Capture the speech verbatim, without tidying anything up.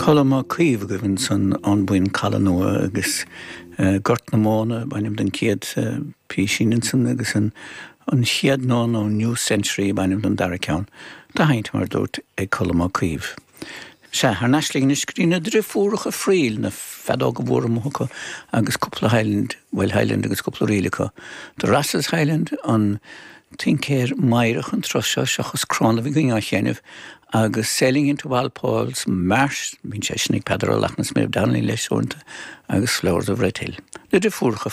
Colm Ó Caoimh agaibh ansan An Buíon Caladh Nua agus uh, Gort na Móna b'ainm don chéad uh, písín ansan agus an an chéad nó nó New Century b'ainm don dara ceann, Tá haint mar dúirt ag Colm Ó Caoimh. Se thar n-ais linn go dtí na deirfiúracha Friel na feadóga mhóra acu agus cúpla Highland, well Highland agus cúpla ríl acu. The Rosses Highland an Tincéir Meidhreach an tráth seo seachas crann a bhí á sheinm agus Sailing into Walpole's Marsh, bíonn sé sin ag Peadar Ó Lachtna Méabh Donnelly leis uaireanta agus Flowers of Red Hill. Na deirfiúracha